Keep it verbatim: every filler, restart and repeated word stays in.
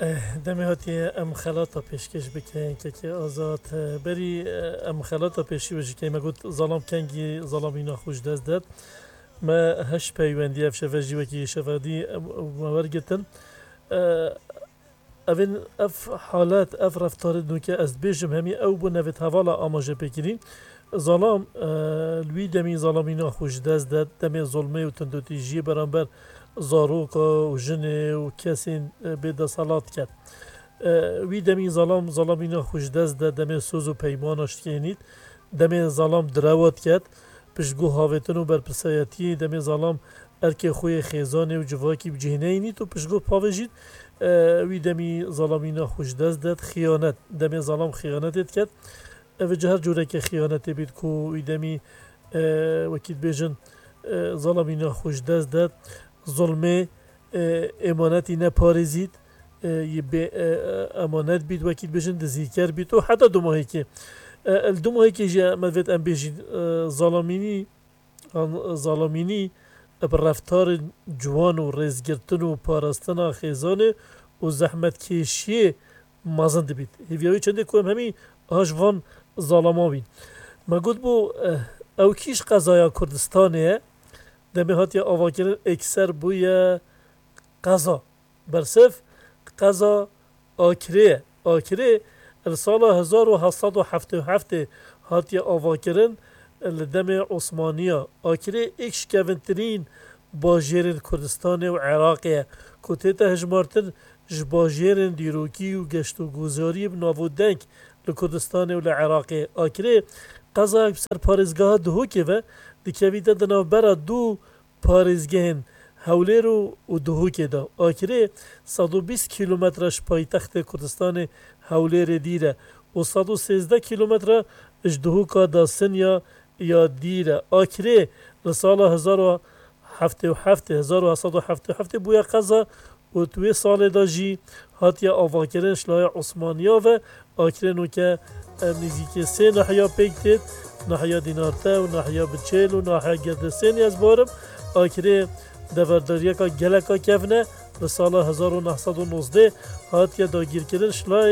Eh, demê hatiye em xelata pêşkêş bikin, kekê Azad. Eh, berî, eh, em xelata pêşî wê jî keyme got, zalam kengî zalamîna xwe ji dest det. Me heş peywendiye ev şeve jî wekî şevadî, eh, me wergitin. Eh, evin, ev halet, ev reftarê nûke ez dibêjim hemî ew bû nevêt hevala amaje pêkirîn. Zalam, eh, li wî demî zalamîna xwe ji dest det, demê zulmê û tundûtîjiyê beramber zaroka û jinê û kesên, eh, bêdeselat ket. Eh, wî demî zalam, zalamîna xwe ji dest de, demê soz û peymana şikênît, demê zalam direwa diket, piştgo havêtin û berpirsayetiyê, demê zalam erkê xwe yê xêzanê û civakî bi cih neyînît û piştgo pavêjît, eh, wî demî zalamîna xwe ji dest de, xiyanet, demê zalam xiyanetê diket. Ev ji her cûrekê xiyanetê bît ku wî demî, e, wekî dibêjin, e, zalamîna xwe ji dest de, zulmê, e, êmanetî neparêzît, e, yê bê, e, emanet bît, wekî dibêjin dizîker bît û heta dumahîkê. E, li dumahîkê jî me divêt em bêjîn, e, zalamînî, an, zalamînî bi reftarên ciwan û rêzgirtin û parastina xêzanê û zehmetkêşiyê mezin dibît. Hêviya wî çendê ku em hemî aha ji van zalama bîn. Me got bû, eh, ew kî ji qezaya Kurdistanê ye, demê hatiye avakirin êkser bûye qeza. Bersiv qeza Akirê ye. Akirê li sala hezar û heft sed û heftê û heftê hatiye avakirin, li demê Osmaniya. Akirê êk ji kevintirîn bajêrên Kurdistanê û Iraqê ye, ku tête hejmartin ji bajêrên dîrokî û geştogozariyê bi nav û deng li Kurdistanê û li Iraqê. Akirê qezayek bi ser parêzgeha Duhokê ve dikevîte di navbera du parêzgehên Hewlêr û, û Duhokê de. Akirê sed û bîst kîlometre ji paytextê Kurdistanê Hewlêrê dîr e û sed û sêzdeh kîlometre ji Duhoka Dasinya ya dîr e. Akirê li sala hezar û heftê û heftê, hezar û heft sed û heftê û heftê bûye qeza û di wê salê de jî hatiye avakirin ji laya Osmaniya ve. Akirê nûke, em nêzîkî sê nahiya pêk têt, nahiya Dînarte û nahiya Biçêl û nahiya Gerdesênê ez barim. Akirê deverdariyeka geleka kevn e. Li sala hezar û neh sed û nozdeh hatiye dagîrkirin ji laya